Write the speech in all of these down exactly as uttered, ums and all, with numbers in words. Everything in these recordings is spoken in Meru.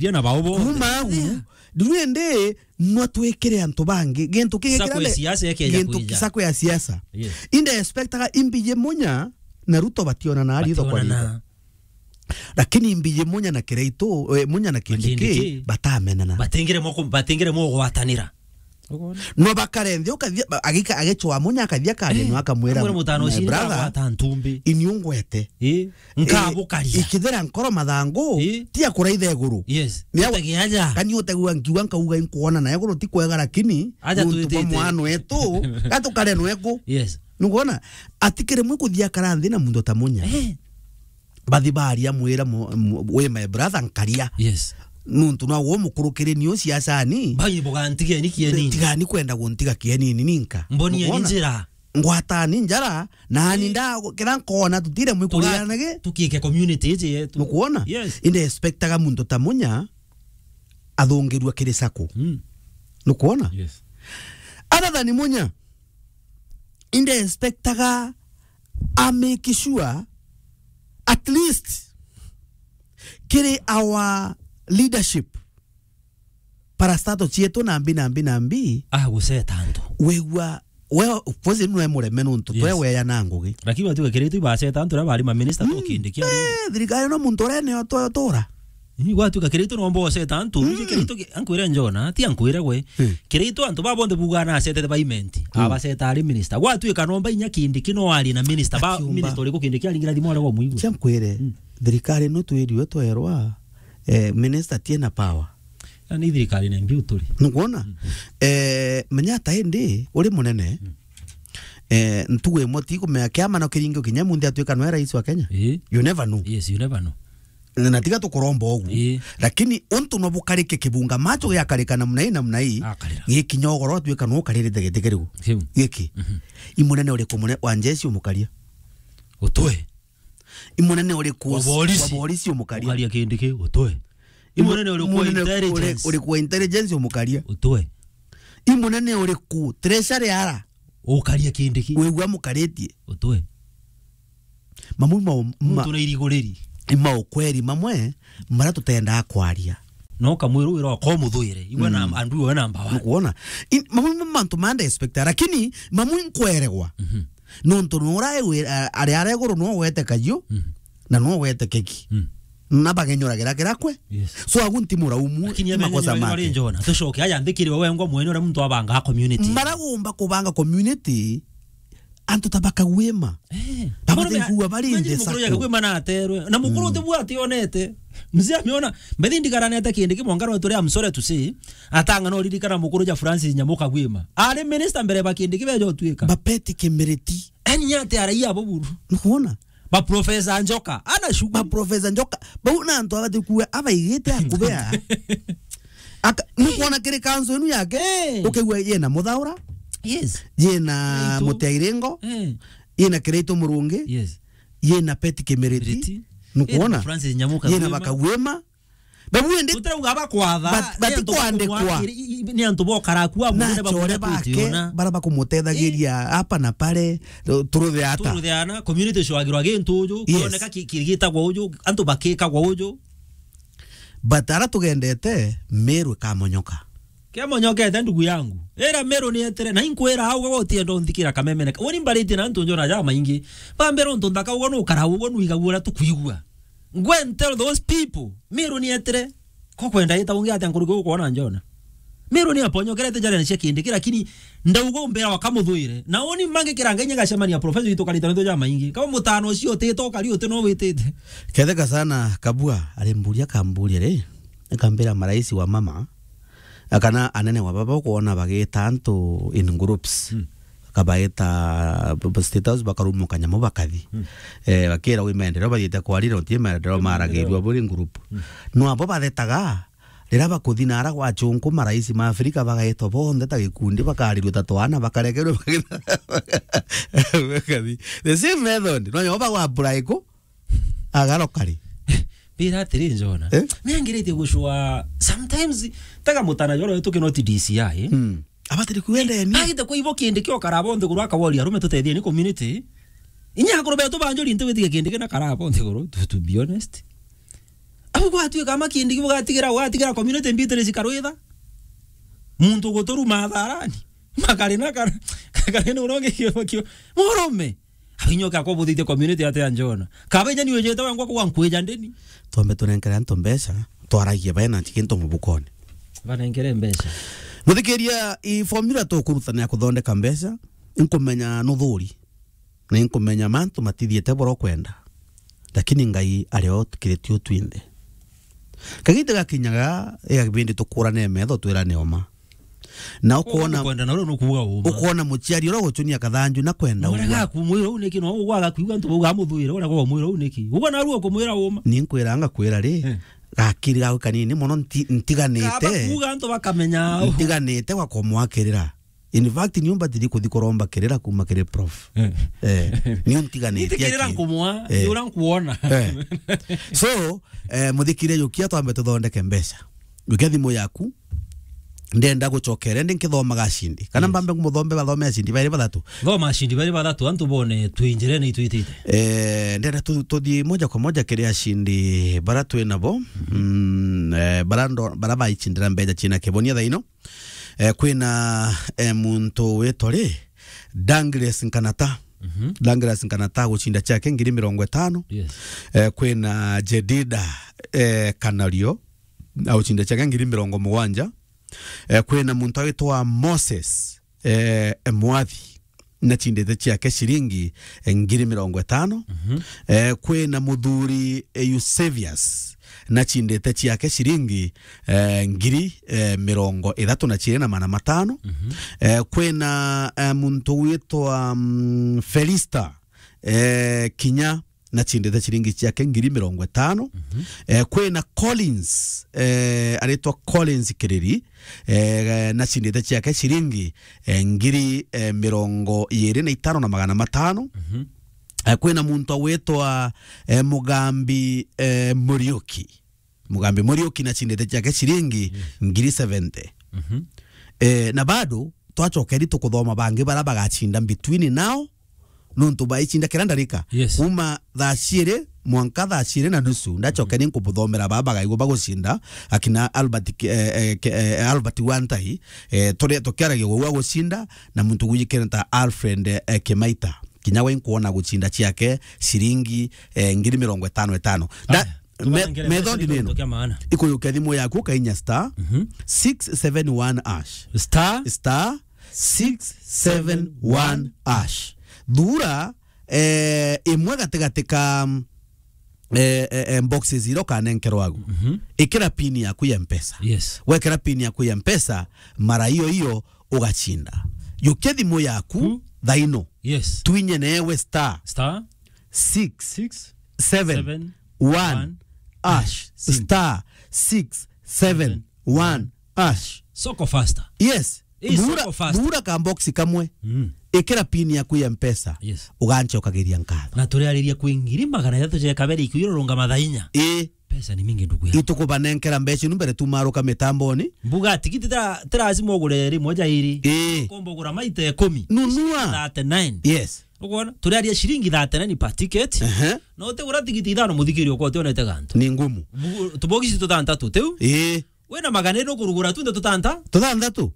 Ria na bao bonthe. Kuma agu, yeah, riu indi nwa twikire antu bangi. Gintu kingi Sacco ya siasa ikeja gintu kwija. Sacco ya siasa. Yes. Inde expectaga imbiji Munya na Ruto bationana ritho kwa ritho. Bationana. Lakini imbiji Munya na Kiraitu, eh, Munya na Kindiki, Kindiki, batamenana. Batingire moko, batingire mogwatanira. Ukoona? No bakare nthi, ukathia, ba-, agika-, agicwa Munya akathia akaria, eh, no akamwira, amwira mutano "My ucio brother, ndagwata ntumbi. Ini ungwete." Eh, nkabukaria. Eh, ikithira nkoro mathangu, eh, ti akuraitha iguru. Yes. Ni awa-, utege aja. Kani utegua nkiuga nkauga inkuona na iguru ti kwega, lakini aja guntu bwa twitite mwana wetu, gatukare nweku. Yes. Nukuona? Ati kiri mwe kuthia kara nthi na muntu ta Munya. Eh. Bathi baria mwira mu-, mu-, "We my brother nkaria." Yes. Nuntu no wo mukurukiri niu siasani. Bai bugantigeni kieni. Tigani kwenda guntiga kienini ninka. Mboni ni njira. Ngwatani njara, na ani nda kira nkona tutire mwikurira nage. Tukike community iji yetu. Nukuona? Yes. Inde expectaga muntu ta Munya athungirua kiri Sacco. Mm. Nukuona? Yes. Other than Munya, inde expectaga a make sure at least kiri our leadership, parastato cietu na mbi na mbi na mbi. Ah, guceta antu. Wigua, we, of course, nwe mureme nuntu, yes, twe weya na ngugi. Lakini watuika Kiraitu ibaceta antu aria bari ma minister, mm, to Kindiki ari. Eh, thirikari no muntu uria nio twe tura. Ni gwatuika Kiraitu nomba oceta antu, mm, uje Kiraitu ki-, ankwire Njona, ti ankwire gwe. Hmm. Kiraitu antu ba bonthe buga na acetete ba Imenti, hmm, abaceta ari minister. Gwatuika nomba inya Kindiki no ari na minister, ba akiumba. Minister uriku Kindiki aringira thimu aria gwa mwigua? Cia nkwire, hmm, thirikari no twiriwe twerwa, eh, minister tie na power. Ya ni thirikari na mbiu turi. Nukuona? Hmm. Eh, menya ta indi, uri munene, hmm, eh, ntugu imwe ti kumenya kiama no kiringi kinya munthi atuika nwe rais wa Kenya. Ii. You never know. Yes, you never know. Na tiga tukuromba ugu. Ii. Lakini untu no bukarike kibunga macho giakarika namna ii, namna ii. Akarira. Gikinya ugoro atuika no ukaririte giti kiriu. Kiu. Giki. Mhm. I munene uriku mune-, wa njeci umukaria? Utwe. I munene uriku wa borisi? Wa borisi umukaria? Ukaria Kindiki, utwe. I munene uriku wa intelligence? Uriku wa intelligence umukaria? Utwe. I munene uriku treasury ara? Ukaria Kindiki. Wigua mukaritie? Utwe. Mamwe mau-, ma-, muntu na iriguriri. Ni maukweri mamwe maria tutendaa kwaria. No kamwiru wira ko muthuire. Igwe na, mm, andu iwe namba one. Nukuona? I-, mamwe ma mantu manda expecta, lakini mamwe nkweregwa. Mhm. Nontu nura ewe, a-, ari ara iguru no wete kayu, mhm, na no wete keki. Mm. Na bagenyuragira kira kwe. Yes. So agu nti muraumu, lakini ti makosa make. Njona, tucoke aya nthikiri we wengwa mwene uria muntu abanga community. Maragumba kubanga community, antu ta bakagwima. Eh. Abate kuwa bari nde mukuru ya sako. Kagwima na aterwe. Na mukuru, mm, te bwati onete. Mzee ameona, mbethi ndigaranete Kindiki mwangaro turi, I'm sorry to say. Atanga no ririkana mukuru ja Francis Nyamu Kagwima. Ari minister mbere ba Kindiki bejo tuika. Bapeti Kimiriti. Ani nyate araia abo buru. Nukuona? Ba Professor Njoka, ana shughuli. Ba Professor Njoka, bau na antu abati kuwa abaigite akubea. Aka, nukuona kiri kanso inu yake? Eh. Ukigua yena Muthaura? Yes. Yena Kiraitu. Mutia Iringo? Eh. Yena Kiraitu Murungi? Yes. Yena Peti Kimiriti? Kimiriti. Nukuona? Yena Francis Nyamu Kagwima. Yena Bakagwima? Babu indi tutirauga bakwatha, bat-, ni antu batikwandikwa. Bakumwakiri-, i-, i-, ni antu bokara ku abu na nde achore bake, bakumwakiriona. Bara bakumutethagiria, eh, hapa na pale, tu-, turuthe ata. Turuthe ana, community cwagirwa gintu uju, yes, kioneka ki-, kirigitagwa uju, antu bakikagwa uju. But ara tugendete, Meru ikamonyoka. Kiamonyokete ndugu yangu. Ira Meru ni etire, na inkwira au gutienda unthikira kamemene. Uni mbaritie na antu njona ja maingi. Bambira untu nthaka ugo nukara ugo nuigagua uria tukwigua. Go and tell those people, Meru ni etire. Ko kwenda ita ungi atia nkuruki ukwona njona? Meru ni aponyokerete njara cia Kindiki, lakini ndauga umbira wakamuthuire. Na uni mange kiranga inya gacemania professor witu karita nto ja maingi. Kama mutano ucio utite ukari uti no witite. Ketheka sana Kabua, ari mburia kamburia ri. Akambira marais wa mama, kana anene wa baba ukwona bagita antu in groups. Hmm. Akabaita b-, b-, State House, bakarumwa kanyamu bakathi. Hmm. Eh, bakira wi maendeleo bathiite kwarira, uti maendeleo maragirua buri group. Hmm. No abo bathetaga, rira bakuthi nara gwa chunku, marais ma Afrika bagaitwa bonthe ta gikundi, bakarirua ta twana, bakarekerua bakathi. The same method. No nyo bagwa apply ku, agaroka ri? Mbira atiri, Njona. Eh? Ni angiritie gucua sometimes, taga mutana joro wetu kino ti D C I, eh? Hmm. Abatiri kuendeni. Agite kwa ibo Kindiki okara bonthe guru akawori arume tutethie ni community. Inya akuru betu banjuri nti witige Kindiki na kara bonthe guru, to, to be honest. Bugwatuika ama kindi bugatigira, ugatigira community mbitiri cikarwitha. Muntu guturuma atharani. Makari na kar-, kari na uronge kio, kio. Murume. Abinyoka ko buthite community ate anjona. Kabeja ni ujete wangwa kwa nkwija ndeni. Twambe tunenkere antu mbeca, twaragie bae na nti kintu mubukone. Banenkere mbeca. Muthikiria, i formula tukurutana ya kuthondeka mbeca, nkumenya nuthuri. Na inkumenya mantu matithiete boro kwenda. Lakini Ngai ari o tukiriti utwinthe. Kagita gakinyaga, iga kibindi tukurane metho twirane uma. Na ukwona, ukwenda na uria nukuuga uma. Ukwona muciari uria ugucunia kathanju na kwenda. Mwana uga gaku mwira u niki, no ugwa gakuigua antu bauga muthuire, uria kwa mwira u niki. Ugwa na ruo kumwira uma. Ni nkwira ngakwira ri, eh, gakiri gaku kanini mono nti-, ntiganite. Kaba kuuga antu bakamenya. Ntiganite gwa kumwakirira. In fact, niu mbatiri kuthi kuromba kirira kuma kiri prof. Eh. Eh, niu ntiganite. Ntikirira aki- nkumwa, eh, ni uria nkuona. Eh. So, eh, muthikire, yukia twambe tuthondeke mbeca. Yukia thimu yaku. Ndenda gucokere, ndi nkithomaga acindi. Kana, yes, mbambe ngumuthombe bathome acindi bairi bathatu. Thoma acindi bairi bathatu, antu bone twinjirene itwitite. Eh, ndenda tu-, tuthii moja kwa moja kiri acindi bara twi nabo. Mhm. Mm, eh, bara ndo-, bara baicindira mbeca cina kibonia thaino. Eh, kwina, eh, muntu witwa ri, Douglas Nkanata. Mhm. Douglas Nkanata agucinda ciake ngiri mirongo itano. Yes. Eh, kwina Jedida, eh, Kanario, agucinda ciake ngiri mirongo mugwanja. Eh, kwina muntu witwa Moses, eh, Mwathi, nacindite ciake ciringi, eh, ngiri mirongo itano. Mhm. Eh, kwina muthuri, eh, Eusebius, nacindite ciake ciringi, eh, ngiri, eh, mirongo ithatu na ciiri na magana matano. Mhm. Eh, kwina, eh, muntu witwa, mm, Felista, eh, Kinya, nacindite ciringi ciake ngiri mirongo itano. Mhm. Eh, kwina Collins, eh, aritwa Collins Kiriri, eh, nacindite ciake ciringi, eh, ngiri, eh, mirongo iiri na itano na magana matano. Mhm. Eh, kwina muntu witwa, eh, Mugambi, eh, Muriuki. Mugambi Muriuki nacindite ciake ciringi, yes, ngiri seventy. Mhm. Eh, na bado twacokeri tukuthoma bangi bara bagacinda between now, nontu baicinda kira ndarika. Yes. Kuma thaa ciiri mwanka thaa ciiri na nusu, ndacoke, mhm, ni nkubuthomera baba bagaigua bagucinda, akina Albert Ki-, eh, eh, Ki-, eh, Albert Wantai, eh, turi tukiaragia gwa gucinda, na muntu gwijikene ta Alfred, eh, Kimaita. Kinya we nkuona gucinda ciake ciringi, eh, ngiri mirongo itano itano. Nda-, aya, me-, tubanengere mbeca methodi ni nino. Nontu kia maana. Ikuyukia thimu yaku ukainya star, mhm, six seven one hash. Star? Star six seven one hash. Thura, eh, imwe gatigati ka, eh, eh, eh, boxes iria ukanenkerwa agu. Mhm. Ikira pin yaku ya Mpesa. Yes. Wekira pin yaku ya Mpesa, mara iyo iyo ugacinda. Yukia thimu yaku, hmm, thaino. Yes. Twinye newe star. Star. Six. Six. Seven. Seven. One. One. Hash. Sim. Star. Six. Seven. Seven. One. Hash. Soko faster. Yes. Ii, bura, soko faster. Bura ka box kamwe. Mm. Ikira pin yaku ya Mpesa. Yes. Ugancokagiria nkatho. Na turiariria kwi ngiri magana jathatu ja kabere iku irorunga mathaa inya. Ii. Pesa ni mingi ndugu yangu. Itukubanenkera mbeca inu mbere tumaruka mitamboni. Mbuga tigiti tira-, ti lazima ugure rimwe ja iri. Ii. Ukomba ugura maita ikumi. Nunua. Thirty-nine. Yes. Ukwona? Turiaria ciringi thirty-nine per ticket. Ehe. Na utigura tigiti ithano muthikiri ukwa utionete gantu. Ni ngumu. Bu-, tubogisi tutantatu, tiu? Ii. Wina magana iri ukurugura tunde tutanta? Tutantatu?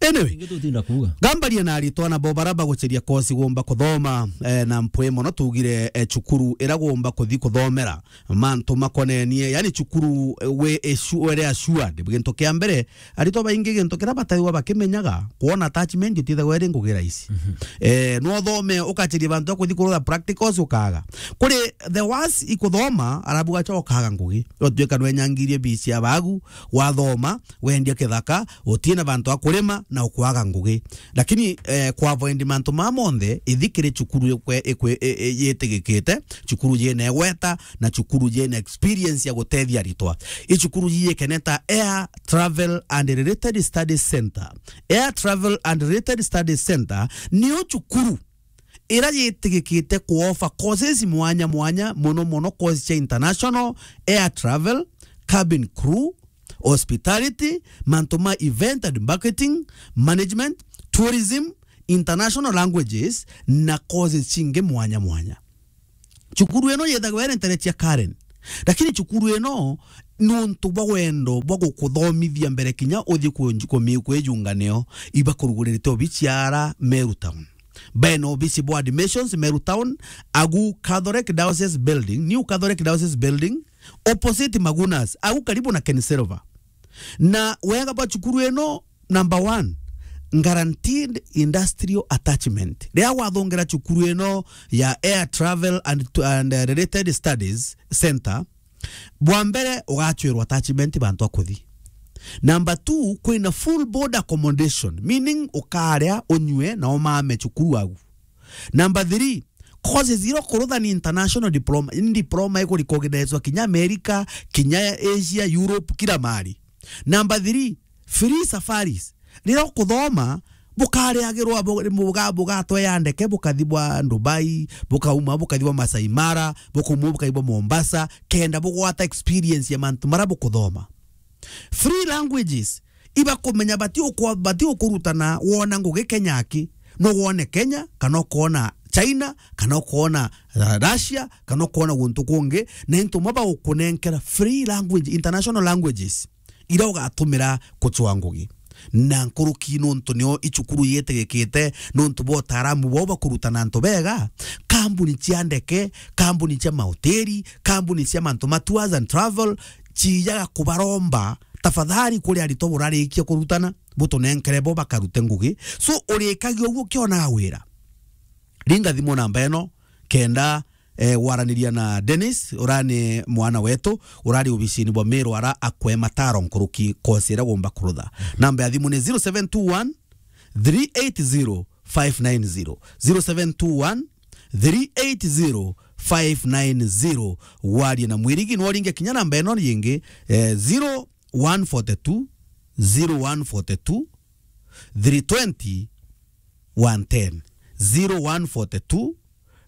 Anyway, ingi tutinda kuuga. Gambaria na aritwa nabo bara baguceria kosi gumba kuthoma, eh, na mpwi mono tugire, eh, cukuru ira gumba kuthi kuthomera mantu makonenie, yani cukuru, eh, we assu-, were assured. Gintu kia mbere, aritwa baingi gintu kira bataigwa bakimenyaga, kwona attachment itithagwa iri ngugi rahisi. Mhm. Eh, no uthome ukaceria bantu a kuthi kurutha practicals ukaga. Kuri the worst ikuthoma, arabu gacha ukaga ngugi. Utuika nwenyangirie bisi ya bagu, wathoma, wendia kithaka, utina bantu a kurima na ukwaga ngugi. Lakini, eh, kwa avoid mantu ma monthe, ithi kiri cukuru ikwe-, ikwe-, i-, i-, yitigikite, cukuru yina igweta, na cukuru yina experience ya gutethia aritwa. I cukuru yiyikene ta Air Travel and Related Studies Center. Air Travel and Related Studies Center niyo cukuru ira yitigikite kuofa courses mwanya mwanya, mono mono course cia international, air travel, cabin crew, hospitality, mantu ma event and marketing, management, tourism, international languages, na courses cingi mwanya mwanya. Cukuru ino yithagwa iri ntere cia Karen. Lakini cukuru ino, nontu bwa wendo bwa gukuthomithia mbere kinya uthii kunju-, kumi-, kwijunga nio, ibakurugurite obici ara Meru Town. Bena obici bwa admissions Meru Town, agu Catholic Diocese Building, New Catholic Diocese Building, opposite Magunas, agu karibu na Ken Silver. Na wega bwa cukuru ino, number one, guaranteed industrial attachment. Riria wathongera cukuru ino ya Air Travel and, and, uh, Related Studies Center, bwa mbere, ugachwirwa attachment bantu a kuthi. Number two, kwina full board accommodation, meaning ukaria, unyue, na umame cukuru agu. Number three, courses iria ukurutha ni international diploma, ni diploma ikurecognizwa kinya America, kinya Asia, Europe, kila mahali. Number three, free safaris. Riria ukuthoma, bukariagirwa, bu-, buga-, bugatwea ndeke, bukathi bwa Dubai, bukauma, bukathi bwa Masai Mara, bukauma, bukathi bwa Mombasa, kenda bugwata experience ya mantu maria bukuthoma. Free languages, ibakumenya bati ukwa-, bati ukurutana wona ngugi Kenya aki. No wone Kenya, kana ukona China, kana ukona, uh, Russia, kana ukona guntu kungi, na into mwe bagukunenkera free language, international languages, iria ugatumira kucwa ngugi. Na nkuruki nontu nio icukuru yetegekite, nontu bwa utaaramu bwao bakurutana antu bega, kambuni cia ndeke, kambuni cia mahoteli, kambuni cia mantu ma tours and travel, ciijaga kubaromba, tafadhali, kuri aritwa burarikia kurutana, butunenkere bo bakarute ngugi. So, urikagia uguo ukionaga wira. Ringa thimu namba ino, kenda, eh, waraniria na Dennis, urani mwana wetu, urari obisini bwa Meru ara akwe mataro nkuruki kosi iria gumba kurutha. Namba ya thimu ni zero seven two one, three eight zero, five nine zero. Zero seven two one, three eight zero, five nine zero. Warie na Mwirigi, no uringe kinya namba ino yingi, eh, zero one forty two, zero one forty two, three twenty, one ten. Zero one forty two,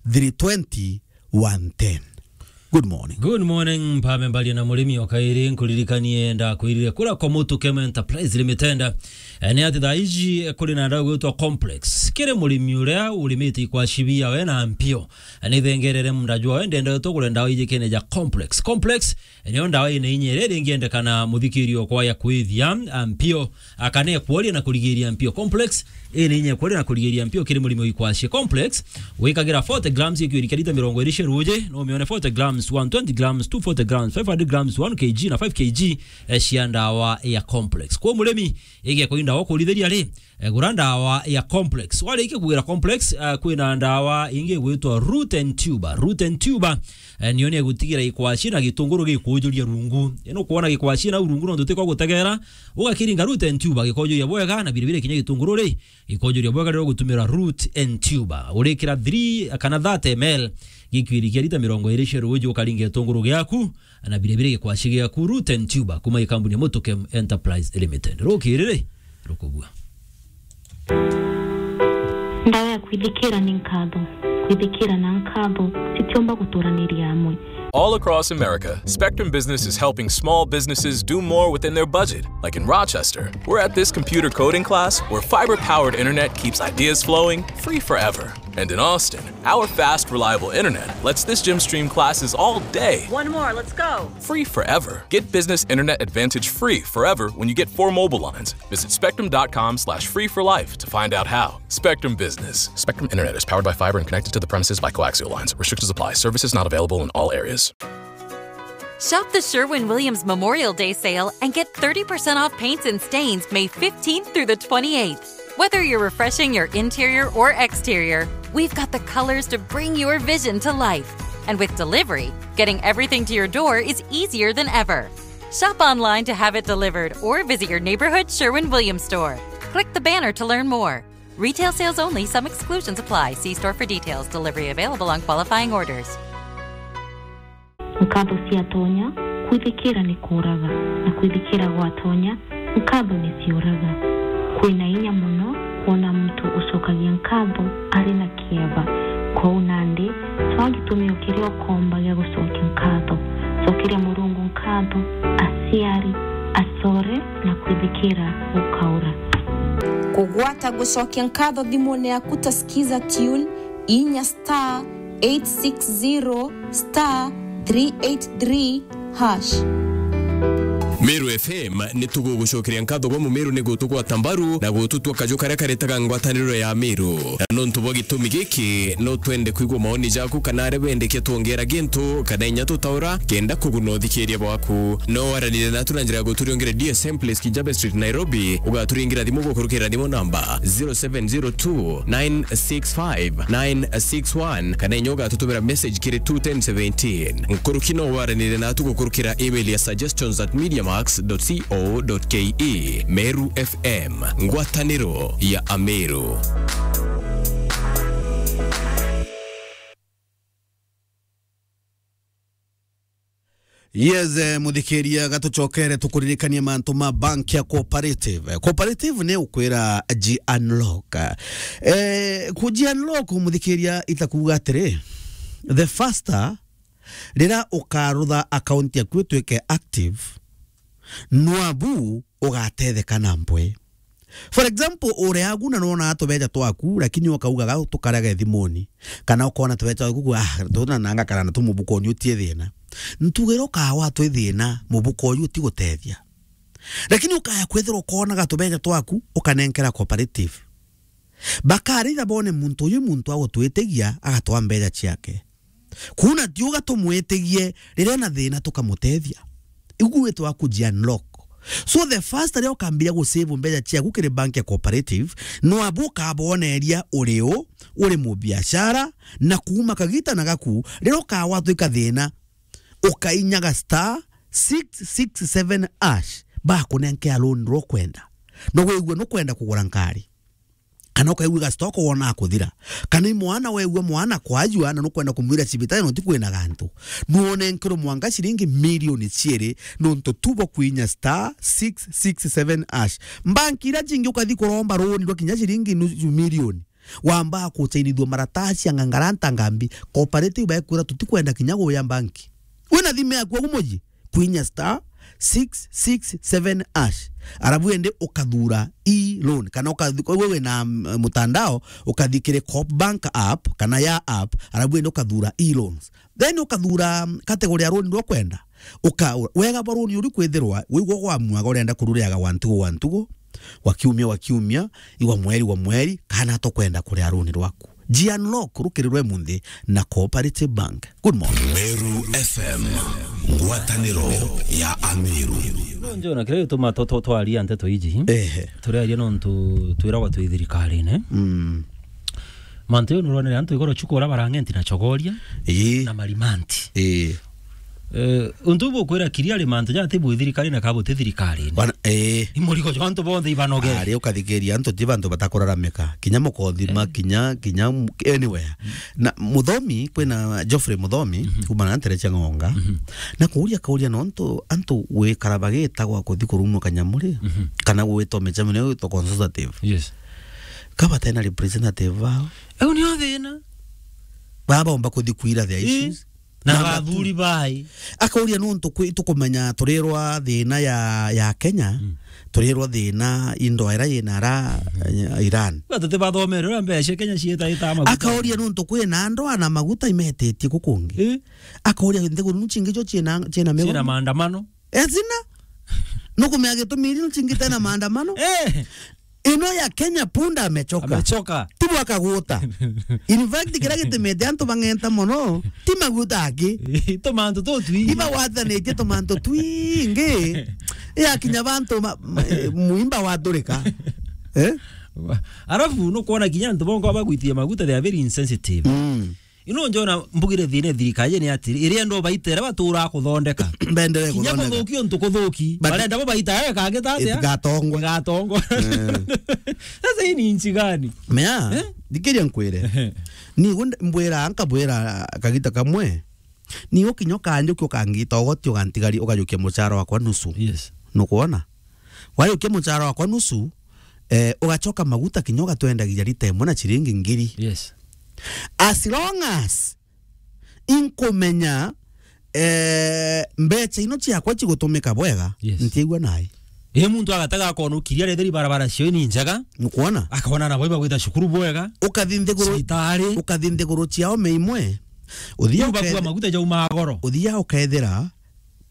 three twenty, one ten. Good morning. Good morning, mpame mbaria na murimi o kairi, nkuririkanie ndakwirire kura kwa Mutukem Enterprise Limited. Eh, ni ati thaa iji, eh, kuri na ndawa gwitwa Complex. Kiri murimi uria urimite ikwaci biawe na mpio, eh, ni thengerere munda jwawe, ndenda tugure ndawa iji kene ja Complex. Complex, eh, niyo ndawa ina inya iria ringiendekana muthikirio kwa ya kwithia, ah, mpio, akane kworia na kurigiria mpio. Complex, ina inya kworia na kurigiria mpio kiri murimi o ikwaci. Complex, wikagira forty grams ikwirikia lita mirongo iri cia ruuji, no umione forty grams, one twenty grams, two forty grams, five hundred grams, one K G na five K G, eh, cia ndawa ya Complex. Kwa murimi, igekwa indawa kurithiria ri, eh, gura ndawa ya Complex. Warikia kugura Complex, eh, kwina ndawa ingi igwitwa Root and Tuber. Root and Tuber, eh, niyo ni egutigira ikwaci na gitunguru gikujuria rungu. Ino kwona gikwaci na rungu nontu tiko gutegera, ugakiringa Root and Tuber gikojuria bwega na biribiri kinya gitunguru ri, gikojuria bwega riria ugutumira Root and Tuber. Urikira three kana thirty M L gikwirikia lita mirongo iri cia ruuji, ukaringa gitunguru giaku, na biribiri gikwaci giaku, Root and Tuber, kuma ikambuni ya Mutukem Enterprise Limited. Rukiri ri, rukubua. Ndawa ya kwithikira ni nkatho. Kwithikira na nkatho citiumba guturaniria amwe. All across America, Spectrum Business is helping small businesses do more within their budget. Like in Rochester, we're at this computer coding class where fiber-powered internet keeps ideas flowing free forever. And in Austin, our fast, reliable internet lets this gym stream classes all day. One more, let's go. Free forever. Get business internet advantage free forever when you get four mobile lines. Visit spectrum dot com slash free for life to find out how. Spectrum Business. Spectrum Internet is powered by fiber and connected to the premises by coaxial lines. Restrictions apply. Services not available in all areas. Shop the Sherwin Williams Memorial Day sale and get thirty percent off paints and stains May fifteenth through the twenty-eighth. Whether you're refreshing your interior or exterior, we've got the colors to bring your vision to life. And with delivery, getting everything to your door is easier than ever. Shop online to have it delivered or visit your neighborhood Sherwin Williams store. Click the banner to learn more. Retail sales only, some exclusions apply. See store for details. Delivery available on qualifying orders. Nkatho ciatonya, kwithikira ni kuuraga, na kwithikira gwatonya, nkatho ni ciuraga. Kwina inya mono kwona muntu ucokagia nkatho ari na kieba. Kwou nandi, cwaa gitumio kiria ukomba gia gucokia nkatho. Cokeria Murungu nkatho, aciari, acore, na kwithikira gukaura. Kugwata gucokia nkatho thimune yaku ta Skiza Tune, inya star eight six zero star three eight three hash. Meru F M ni tugugucokeria nkatho gwa Mumeru ni gutugwata mbaru na gututua kaju karia karetaga ngwataniro ya Meru. Na nontu bwa gitumi giki, no twende kwigua maoni jaku kana aria bendekia twongera gintu kana inya tutaura kenda kuguna uthikiria bwaku. No waranire natu na njira ya guturiongere D S M Place Kijabe Street, Nairobi, ugaturingira thimu gukurukira thimu namba zero seven zero two nine six five nine six one, kana inya ugatutumira message kiri two ten seventeen. Nkuruki no waranire natu gukurukira email ya suggestions at mediamax dot co dot ke. Meru F M, ngwataniro ya Ameru. Yes, eh, muthikiria, gatucokere tukuririkanie mantu ma bank ya Cooperative. Eh, Cooperative ni ukwira ji unlock. Eh, ku ji unlock, muthikiria, itakuuga atiri, the faster rira ukarutha account yaku ituike active, nwabu ugatetheka na mpwe. For example, uri agu na nona tubeja twaku, lakini ukaugaga tukarage thimuni. Kana ukona tubeja twaku ku, ah, tuna nanga kana na tu mubukoni utie thina. Ntugire ukawa twi thina, mubuko uyu utigutethia. Lakini ukaya kwithira ukonaga tubeja twaku, ukanenkera Cooperative. Bakaritha bone muntu uyu muntu agutwitigia, agatwa mbeja ciake. Kuna ti uga tumwitigie riria na thina tukamutethia. Igu gwitwa kuji unlock. So the first riria ukambiria gusave mbeca ciaku kiri bank ya Cooperative, no abu ukaboneria uri u, uri mubiashara, na kuuma kagita na gaku, riria ukawatwika thina, ukainyaga star six six seven hash, bakunenkea loan rwa kwenda. No wigua nukwenda kugura nkari. Kana ukaigua stock wona kuthira. Kana i mwana wegua mwana kwajua na nukwenda kumwira cibitari no ti kwina gantu. Nuone nkiro mwanka ciringi milioni ciiri nontu tu bwa kwinya star six six seven hash. Mbanki ira cingi ukathi kuromba runi rwa kinya ciringi nusu milioni. Wamba kuchainithua maratasi ya ngangaranta ngambi. Cooperative baekwira tutikwenda kinya guya mbanki. Wina thimu yaku agu muji? Kwinya star six six seven hash. Arabu ende ukathura e-loan. Kana ukathi-, kwa wewe na, mm, mutandao, ukathi kiri Coop Bank app, kana ya app, arabu ende ukathura e-loans. Then ukathura, mm, category ya loan iria ukwenda. Uka-, wega bwa loan uri kwithirwa, wigwa gwa mwaga urenda kurureaga wa ntugo wa ntugo, wa kiumia wa kiumia, i wa mweri wa mweri, kana tokwenda kuria loan rwaku. Ji unlock rukirirwe munthi na Cooperative Bank. Good morning. Meru F M, ngwataniro ya Ameru. No njona kiria gituma to-, to-, twaria nteto iji. Ehe. Turiaria nontu twiragwa twi thirikarine. Mm. Mantu yo nuronere antu igoro chuko ura barangenti na chogoria. Ii. Na marimanti. Ii. Eh, untu bukwira kiria ri mantu jati bu thirikari na kabuti thirikari. Wana, eh. Imurigo jwa antu bonthe ibanoge. Ari ukathikiria antu ti bantu batakuraramika. Kinya mukothima, eh, kinya, kinya m-, anywhere. Mm. Na Muthomi, kwina Geoffrey Muthomi, mhm, kuma na ntere cia Ng'onga. Mhm. Na kuuria kauria nontu antu wikara bagitagwa kuthi kurumwa kanyamuri, mhm, kana gwitwa micemene gwitwa consultative. Yes. Kabatena representative bao. Eu nio thina. Baba omba kuthi kuira their, ii, issues. Na na bathuri bai. Akauria nontu kwi tukumenya turirwa thina ya, ya Kenya, mm, turirwa thina i ndoa ira yina ara, mm, Iran. Ba tuti bathomere uria mbeca Kenya cieta ita maguta. Akauria nontu kwina ndoa na maguta imetitie kukungi. Eh? Akauria nthiguru nu cingi jo ciina, ciina migomo. Ciina maandamano. Ezina. Nukumenya gitumi iri nu cingi tena maandamano. Eh. Ino ya Kenya punda amechoka. Amechoka. Tibu akaguta. In fact, kira gitumite antu bang'enta mono, ti maguta aki. Tumantu tutwingi. Iba watanitie tumantu twingi. Ya kinya bantu ma-, ma-, muimba wathurika. Eh? Arafu, nukwona kinya antu bongo bagwitie maguta, they are very insensitive. Mm. Ino njona mbugire thina thirikari ni atiri, iria ndo baitera batura kuthondeka. Bendere kinya kuthondeka. Kuthuki untu kuthuki. But barenda bo baita yawe kangi tatia? Itigatongwe. Igatongwe. Eh. Sasa hii ni nchi gani? Mea, eh? Thikiria nkwire. Ni gunde mbwira, nkabwira kagita kamwe. Ni ukinya ukanjukia ukangita ugoti ugantigari ugajukia muchara wakwa nusu. Yes. Nukwona? Wajukia muchara wakwa nusu, eh, ugachoka maguta kinya ugatwendagia lita imwe na chiringi ngiri. Yes. As long as inkumenya, eh, mbecha ino ciakwa cigutumika bwega, yes, ntiigua nai. Ii muntu agatega akona ukiria retheri barabara cio ni njega. Nukwona? Akona nabo ibagwita cukuru bwega. Ukathi nthiguru, cibitari. Ukathi nthiguru ciao me imwe. Uthia Riu bakua ukethe-, maguta jaumaa goro. Uthia ukethira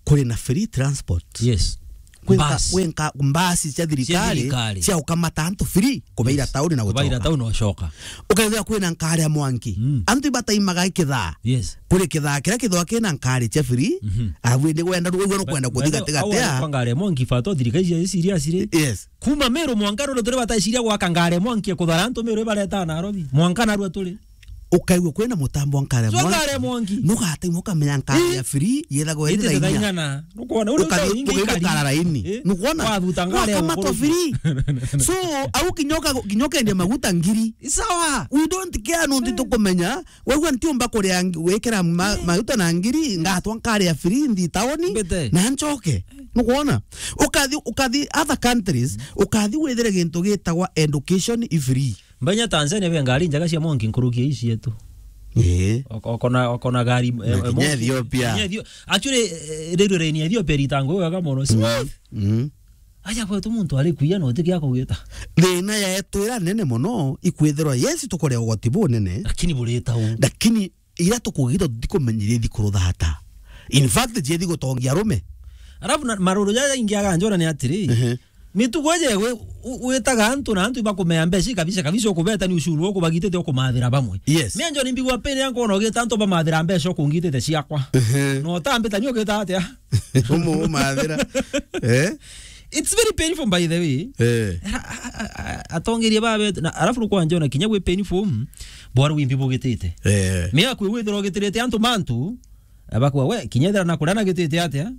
kuri na free transport. Yes. Kwi nka-, Bus. kwi nka-, mbasi cia thirikari, thirikari. cia ukamata antu free, kubaira Yes. tauni na Kubaira gucoka. tauni na gucoka. Ukethira kwina nkari ya mwanki. Mm. Antu ibataimaga ikithaa. Yes. Kuri kithaa kiria kithwa kina nkari cia free, Mhm. arabu indi wenda, wigua nukwenda By kuthi the way, gati gati au ya. kwa ngari ya mwanki, fato thirikari cia serious ri. Yes. Kuma Meru mwanka ruru turi bataiciria gwaka ngari ya mwanki ya kuthara antu Meru ibareta Nairobi. Mwanka narua turi. Ukaigua kwina mutambo wa nkari ya So mwanki. ngari ya mwanki. Nugataimwa ukamenya nkari Ii. ya free, yethagwo Iti iri thaa inya. ing'ana. Nukwona, uri Ukathi-, ukaigua ukara laini. Eh? Nukwona? Wathuta ngari ya Wakamatwa mukuru. free. So, au kinya uka-, kinya ukendia maguta ngiri. Sawa. We don't care, nontu Eh. tukumenya. Wegua ntiumba kuria ngi-, gwikira ma-, Eh. maguta na ngiri, ngatwa nkari ya free, nthi taoni, Mbete. na ncoke. Nukwona? Ukathi, ukathi other countries, ukathi withire gintu gitagwa education i free. Mbanya Tanzania be ngari njega cia mwanki nkuruki ici yetu. Ee. Oko-, okona, okona gari, Na eh, kinya mwanki. Ethiopia. Kinya Ethio-, actually, eh, railway line ya Ethiopia ritangwa wega mono. Mm, Smooth. mm. Aja kwetu muntu ari kuya no tikia kugita. Thina yetu ira nene mono ikwithirwa, yes, tukuria ugoti bunene. Lakini burita u. Lakini ira tukugita tutikumenyeria ithi kuruthata. In fact, jiethi gutongia arume. Alafu na maruru jaja ingi aganjona ni atiri. Ehe. Mitugo ije gwi-, u-, witaga antu na antu ibakumea mbeca kabisa kabisa, ukubeta ni ushuru ukubagitite ukumathira bamwe. Yes. Mimi njo nimbigwa pene yangu ona ugita antu bamathira mbeca ukungitite ciakwa. Ehe. No tambita ni ugita atia? Umu umathira. Eh? It's very painful, by the way. Eh. A-, a-, a-, a-, atongeria babe, na alafu nukwanja ona kinya gwi painful, mm, bwaru wimbi bugitite. Eh. Mea kwi withira ugitirite antu mantu, abakwa we, kinya ethira na kuria nagitite atia?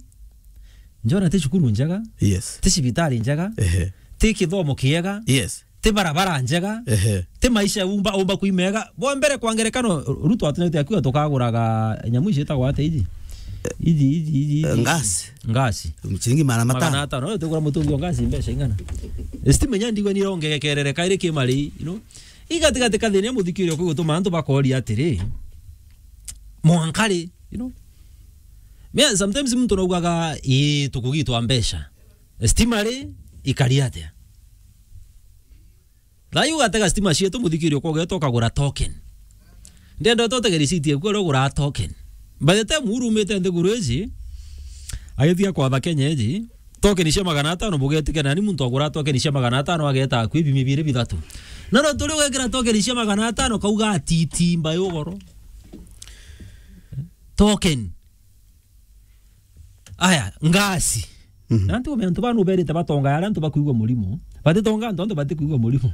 Njona ti cukuru njega, Yes. ti cibitari njega, Ehe. ti kithomo kiega, Yes. ti barabara njega, Ehe. ti maisha umba, umba kuimega. Bwa mbere kwa ngerekano, Ruto atunete akiuga tukaguraga nyamu ici itagwa atia iji? Iji, iji, iji, iji. Eh, ngasi. Ngasi. Ciringi magana matano. Magana atano. Wewe tukura mutungi wa ngasi mbeca ing'ana? Stima inya ndigwa ni irongerekerere kairi kimari, you know. Igatigati kathina muthikiri okwi gutuma antu bakoria atiri, mwanka ri, you know. Me, sometimes muntu naugaga, "Ii, tukugitwa mbeca. Stima ri, ikari atia?" Thayu ugatega stima cietu, muthikiri ukogeta ukagura token. Ndenda utege receipt eku uria ugura token. By the time urumite nthiguru iji, agithia kwatha Kenya iji, token cia magana atano bugetike nani muntu agura token cia magana atano ageta akwi bimi biri bithatu. Na no turi gwekira token cia magana atano kauga atiti mbayo ugoro. Token. Aya, ngasi. Mhm. Na antu, antu banu berite batonga aria antu bakuigua murimo. Batitonga antu, antu batikuigua murimo.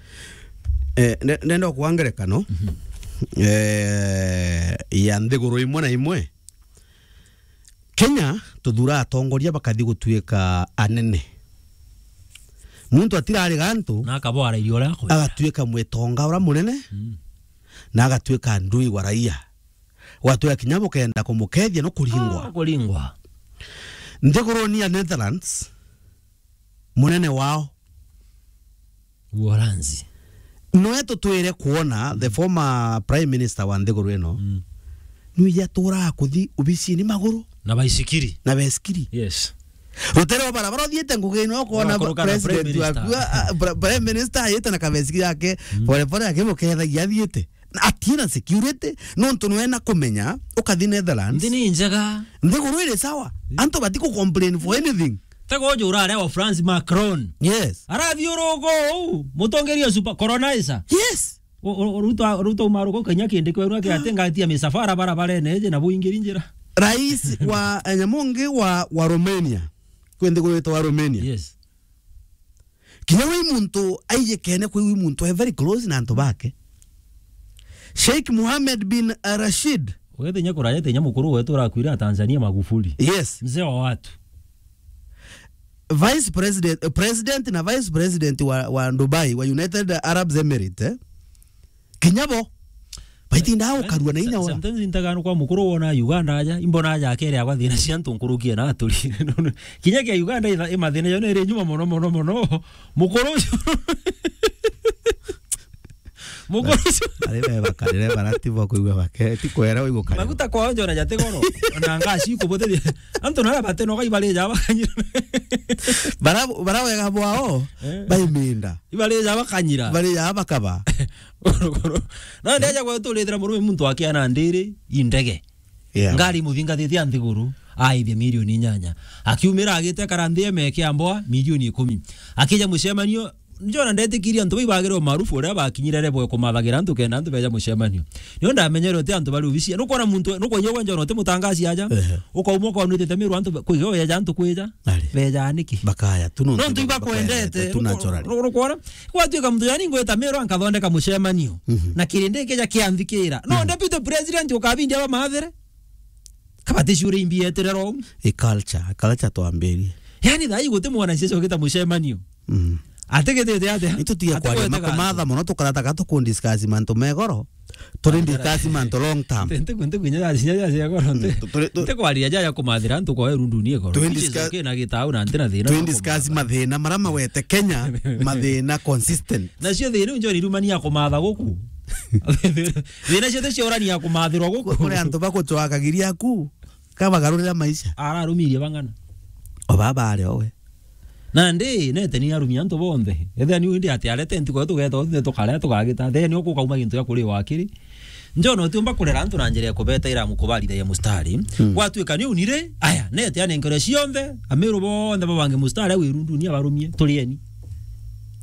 Eh, ne-, nenda kwa ngerekano, Mhm. eh, ya nthiguru imwe na imwe. Kenya, tuthura atongoria bakathi gutuika anene. Muntu atirari gantu, Na akabwara irio uria akwenda. Agatuika mwitonga uria munene, Mm. na agatuika ndui wa raia. Gwatuika kinya bukenda kumukethia no kuringwa. Ah, kuringwa. Nthiguruni ya Netherlands, munene wao Uholanzi. Noe tutwire kuona the former prime minister wa nthiguru ino, Mm. nui yaturaga kuthi ubicini maguru Na baisikiri. na besikiri. Yes. Rutere wa barabara uthiite ngugi ino, ukona Ugakuruka na president prime minister. waku, a, a, pra-, prime minister ayite na kabesikiri yake, Mm. pore pore akimukethagia athiite. Na atina security, nontu nwe na kumenya, ukathi Netherlands. Nthi ni njega. Nthiguru iri sawa. Mm. Antu batiku complain for anything. Tego uju urare wa France Macron. Yes. Arathiuruka uu, mutongeria super colonizer. Yes. U-, u-, uruta, uruta umaruka ukainya kindi kwenu ake ati ngatia misafara barabarene iji na buingiri njira. Rais wa, eh, nyamu ungi wa, wa Romania. Kwi nthiguru yitwa Romania. Yes. Kinya wi muntu aijikene kwi wi muntu e very close na antu bake. Sheikh Mohammed bin Rashid. Ugete nya kuraya te nya mukuru wetu urakwira Tanzania Magufuli. Yes. Mzee wa watu. Vice President, eh, President na Vice President wa, wa Dubai, wa United Arab Emirates, eh? Kinya bo. Baitinda Eh, ukarua na inya sa-, wa. Sometimes ntaga no kwa mukuru wona Uganda aja, imbona aja akere agwa thina cia ntu nkurukie na aturi. Kinya kia Uganda itha-, imathina yo nere nyuma mono, mono, mono. Mukuru ucio. Mukuru ucio. Ari be bakarire barati bo kuigua bake, ti kwera uigukare. Maguta kwa onjo na jate goro. Na ngasi kubotheria. Antu na bate no kai bare ja bakanyira. Bara, bara wega bwao, Eh. baiminda. Ibare ja bakanyira. Bare ja bakaba. Na ndeja gwetu urithira murume muntu akiana ndiri indege. Yeah. Ngari imuthingathitie a nthiguru, aithia milioni inyanya. Akiumira agite kara nthi eme kia mboa, milioni ikumi. Akija mucemanio, njona ndetikirie antu bai bagire umaarufu uria bakinyire rebwe kumathagira antu kenda antu beja mucemanio. Nio ndamenyere uti antu bari obici. Nukwona muntu, nukwona njona uti mutangaci aja. Ehe. Ukauma ukaona utite miru antu kwiga uyeja antu kwija. Ari. Beja niki? Bakaya, tu no ntu ibakwendete. Tu naturally. Nukwona? Gwatuika muntu yani ngwita miru ankathondeka mucemanio. Mhm. Na kirindi kija kianthikira. No, mhm, deputy president ukabindi aba mathere. Kabati ciure imbi eterera ou. I culture, culture twambirie. Yani, thaa ii guti mwanasiasa ugita mucemanio. Mm. Atigitite atia? Itu tiga kwaria makumatha mono, tukarataga tukundiscuss mantu megoro. Turi discuss mantu long term. Nti, nti, nti kwinya ya cinya ya cia goro, nti. Mm, tu-, turi, tu- nti kwaria ja ya kumathira antu kwa erundu ni goro. Twi discuss- kina gitau na nti na thina. Twi discuss mathina mara mawete Kenya, mathina consistent. Nacio thina iu njoni irumania kumatha guku. Thina ciothe ciorania kumathirwa guku. Kuri antu bagucwakagiria aku, kabagarurira maisha. Ararumirie bang'ana. O baba ari owe. Nandi, nete ni arumia antu bonthe. Ethia ni indi ati arete ntuku iyo tugeta, othe tukarea, tugagita. Thia ni ukukauma gintu gia kuri wakiri. Njona utiumba kurera antu na njira ya kubeta iramu kubarithagia mustari. Hmm. Gwatuika ni unire, aya, nete anenkere cionthe, amiru bonthe babange mustari, au irundu ni abarumie, turieni.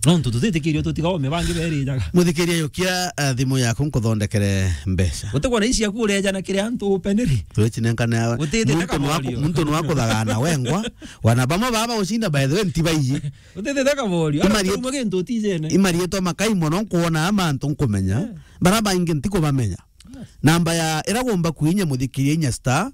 Nontu tutitikirio tutiga ome bangi berijaga. Muthikiria, yukia, eh, thimu yaku nkuthondekere mbeca. Gutikwa na ici yaku ureja na kiri antu upeniri. Twichinenkane awe. Utithite muntu nwa-, kaborio. Muntu nwa kuthagana wengwa. Wana bamwe baba ucinda, by the way, nti baiyi. Utithite kaborio. Imari-, arumwe gintu utijene. Imarietwa makai mono nkuona ama antu nkumenya. Eh. Bara baingi ntikubamenya. Namba ya ira gomba kuinya muthikiria inya star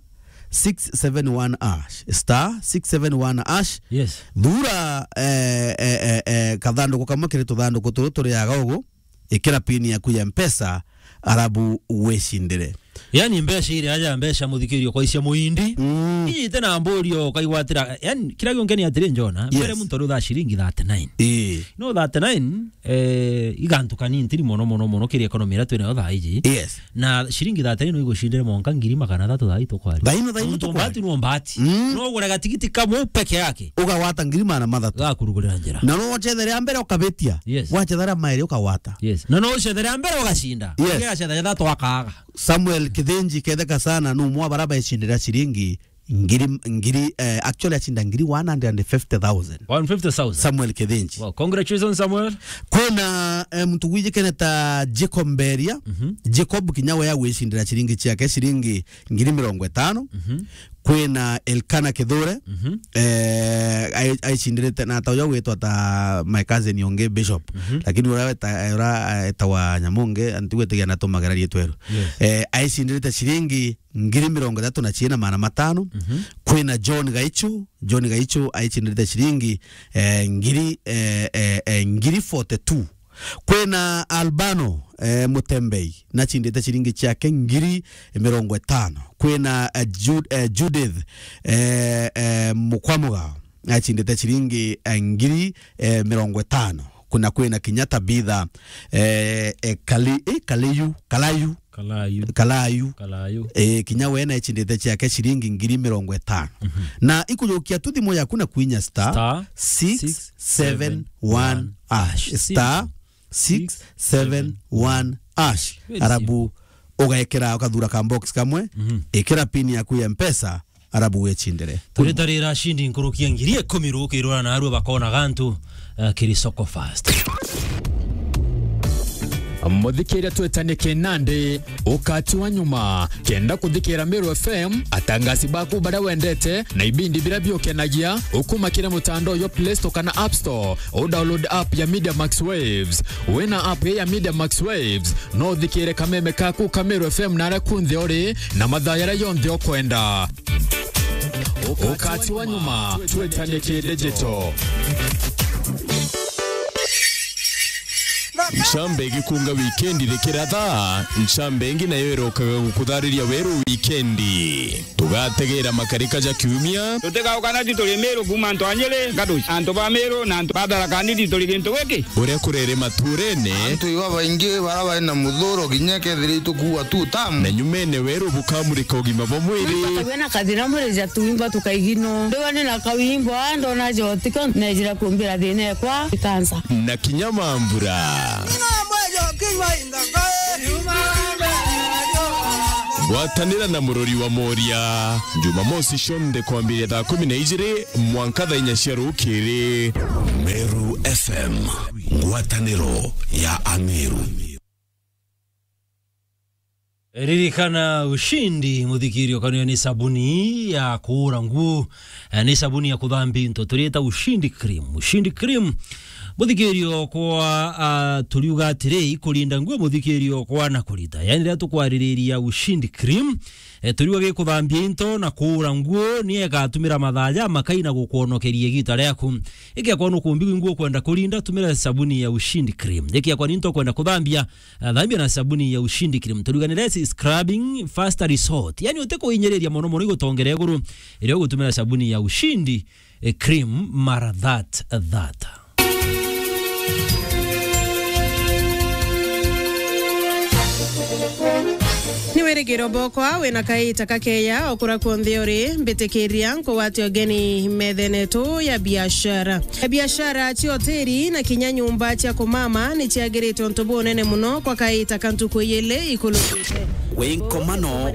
six seven one hash. Star six seven one hash. Yes. Thura, eh, eh, eh, eh, kathanduku kamwe kiri tuthanduku turu turiaga ugu, ikira pin yaku ya Mpesa, arabu wicindire. Yani mbeca iri aja mbeca muthikirio kwa icia muindi. Mm. Iji ite na mburio ukaigwatira. Yani kira gionke ni atiri njona. Yes. Mbere muntu ari uthaa ciringi thirty-nine. Ii. No thirty-nine, eh, igantu kanini ntiri mono, mono, mono kiri economy iria twinayo thaa iji. Yes. Na ciringi thirty-nine no igucindire mwanka ngiri magana athatu thaa ii tukwaria. Thaa ino, thaa ino. Muntu tukwaria. Mbati no mbati. Mm. No ugure gatigiti kamwe peke yake. Ugagwata ngiri magana mathatu. Gakurugurira njira. Na no wacethere a mbere ukabitia. Yes. Wacethere a mairi ukagwata. Yes. Na no ucethere a mbere ugacinda. Yes. Ugacethere a thatu akaga. Samuel Kithinji ketheka sana, no mwa bara baicindira ciringi ngiri, ngiri, eh, actually acinda ngiri one hundred and fifty thousand. One fifty thousand. Samuel Kithinji. Wow, congratulations, Samuel. Kwina, eh, muntu gwijikene ta Jacob Mberia. Mhm. Jacob kinya we agwicindira ciringi ciake, ciringi ngiri mirongo itano. Mhm. Kwina Elkana Kithure. Mhm. Eh, ai-, aicindirite na ta uyo gwitwa ta my cousin ungi Bishop. Mhm. Lakini ura weta-, ura, eh, etawa Nyamungi, antigwitigia na tumagera rietwa eru. Yes. Eh, aicindirite ciringi ngiri mirongo ithatu na ciina magana matano. Mhm. Kwina John Gaichu, John Gaichu aicindite ciringi, eh, ngiri, eh, eh, eh, ngiri forty-two. Kwina Albano, eh, Mutembei, nachindite ciringi ciake ngiri mirongo itano. Kwina, eh, Jud-, eh, Judith, eh, eh, Mukwamuga, achindite ciringi, eh, ngiri, eh, mirongo itano. Kuna kwina kinya Tabitha, eh, eh, Kali-, eh, Kaliyu, Kalayu, Kalayu. Kalayu. Kalayu. Eh, kinya we naicindite ciake ciringi ngiri mirongo itano. Mhm. Na ikujukia tu thimu yaku na kuinya star six seven one hash. Star six seven one hash. Very simple. Arabu ugaekera, ukathura ka box kamwe, mhm, ikira pin yaku ya Mpesa, arabu wechindire. Turitarira ashindi nkurukia ngiri ikumi rukirura na arua bakona gantu, eh, kiri Soko Fast. Muthikiria twetanie kinandi, ukati wa nyuma. Kenda kuthikira Meru F M, atangasi baku baria wendete, na ibindi biria biukenagia, ukuma kiri mutandao yo Play Store kana App Store, u download app ya Media Max Waves. Wina app ya Media Max Waves, no uthikire kameme kaku ka Meru F M naria kunthe uri, na mathaa yaria yonthe ukwenda. Ukati wa nyuma, twetanie ki digital. Ncambe igikunga wikendi rikiratha, ncambe ingi nayo irokaga gukuthariria weru wikendi. Tugategera makarika ja kiumia. Tutigauka na tu turi Meru kuuma antu a Nyeri, Gaduci. Antu ba Meru na antu ba Tharaka Nithi turi gintu giki. Uria kurere maturene. Antu iba baingi bara bari na muthuro kinya kethira itukuua tu tamu. Na nyumene weru bukamurika ugima bwa mwiri. Wina kathina mwiri ja tuimba tukaigino. Ndiwa ni na kawimbo, a, ndona jotiko, nejira kumbira thina ekwa, ikansa. Na kinya mambura. Ng'ombe jo kinywa inga. Gwatanira na Murori wa Moria, Jumamosi cionthe kwambiria thaa kumi na ijiri mwanka thaa inya cia rukiri. Meru F M, ngwataniro ya Ameru. Ririkana Ushindi, muthikirio, kanio ni sabuni ya kuura nguo, eh, ni sabuni ya kuthambia into, turiita Ushindi Cream. Ushindi Cream, muthikirio kwa, ah, turiuga atiri, ikurinda nguo, muthikirio kwa na kurita. Yani, riria tukwaririria Ushindi Cream, eh, turiuga gikuthambia into na kuura nguo, ni igatumira mathaa jamakai na gukwonokeria igita riaku. Ikiakorwo nukumbi nguo kwenda kurinda, tumira sabuni ya Ushindi Cream. Ikiakorwo ni into kwenda kuthambia, ah, thambia na sabuni ya Ushindi Cream. Turiuga ni less scrubbing, faster result. Yani, utikuinyiriria mono mono igutongera iguru, iria ugutumira sabuni ya Ushindi, eh, Cream mara that, that. Ni wirigiro bokwa wina kaita kakeya okura kwonthe uri, mbitikiria nkugwate ugeni methene yetu ya biashara. Biashara cia hoteli na kinya nyumba cia kumama ni ciagiritwe untu bunene muno kwa kaita ka ntuku ijiri ikurukite. Wi nkomano,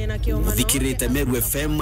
uthikirite Meru F M.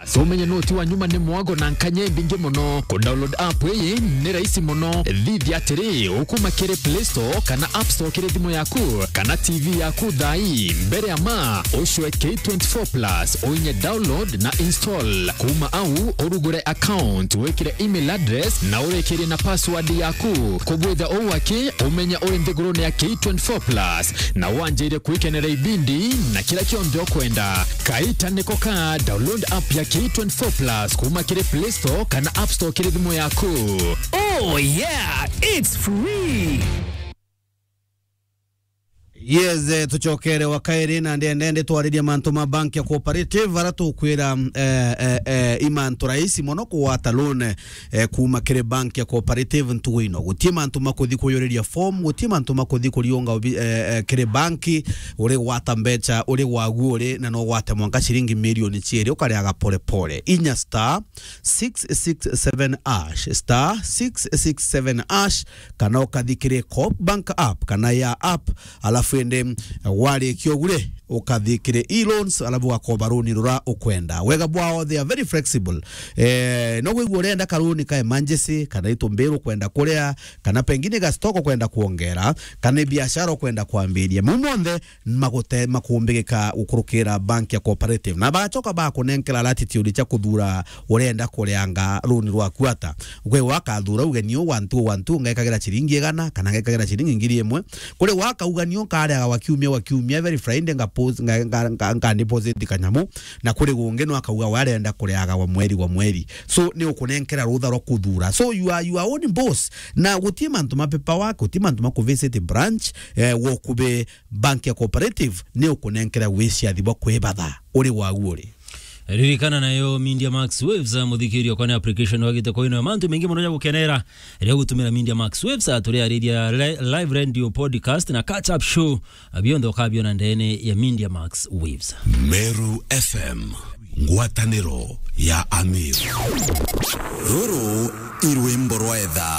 So umenye noti wa nyuma ni mwago na nkanya imbingi muno. Ku download app ii ni rahisi muno. Thithia atiri, ukuma kiri Play Store kana App Store kiri thimu yaku kana T V yaku thaa ii. Mbere ya ma, ucwe K twenty-four plus, uinye download na install. Kuma au, urugure account, wikire email address na urikirie na password yaku. Kubwitha uu aki, umenye uri nthigurune ya K twenty-four plus na wanjire kwikenera ibindi na kira kionthe ukwenda. Kaita niko ka, download app ya K twenty-four plus kuma kiri Play Store kana App Store kiri thimu yaku. Oh yeah, it's free. Yes, eh, tucokere wa kairi na ndende, ndende twaririe mantu ma bank ya cooperative, ara tukwira, eh, eh, eh, i mantu rahisi mono kugwata loan, eh, kuma kiri bank ya cooperative ntugu ino. Gutie mantu ma kuthi kuyuriria form, gutie mantu ma kuthi kuriunga obi-, eh, eh, kiri bank, uri gwata mbecha, uri gwagu uri, na no gwate mwanka ciringi milioni ciiri, ukariaga pole pole. Inya star six six seven hash, star six six seven hash, kana ukathi kiri Coop Bank app, kana ya app, alafu indi warikia ugu ri, ukathi kiri e-loans, alafu ugakoba runi rura ukwenda. Wega bwao, they are very flexible. Eh, no gwigua urenda karuni ka emergency, kana itumbiru ukwenda kuria, kana pengine ga stock ukwenda kuongera, kana biashara ukwenda kwambiria. Mau monthe magute-, makumbigika gukurukira bank ya cooperative. Na bagacoka bakunenkera latitude cia kuthura urenda kurianga runi rwaku ata. Gwe wakathura ugeni u one two one two, ngekagira ciringi igana, kana ngekagira ciringi ngiri imwe. Kuri waka ugeni u nkariaga wa kiumia, wa kiumia, every Friday nga post, nga, nga, nga, nga deposit kanyamu, na kuri gungi no akauga we arenda kuriaga wa mweri, wa mweri. So, ni ukunenkera rutha rwa kuthura. So, you are your own boss. Na gutie mantu ma paperwork, gutie mantu ma kuvisit branch, eh, wokubi bank ya cooperative, ni ukunenkera wiciathi bwa kwibatha uri wagu uri. Ririkana nayo Media Max Waves, ah, muthikirio, kwani application wagite kwa ino ya mantu mengi mono ya gukenera, ria gutumira Media Max Waves, ah, turiariria li-, live radio, podcast na catch up show, ah, bionthe ukabiona ndene ya Media Max Waves. Meru F M, ngwataniro ya Ameru. Ruru i rwimbo rwa etha.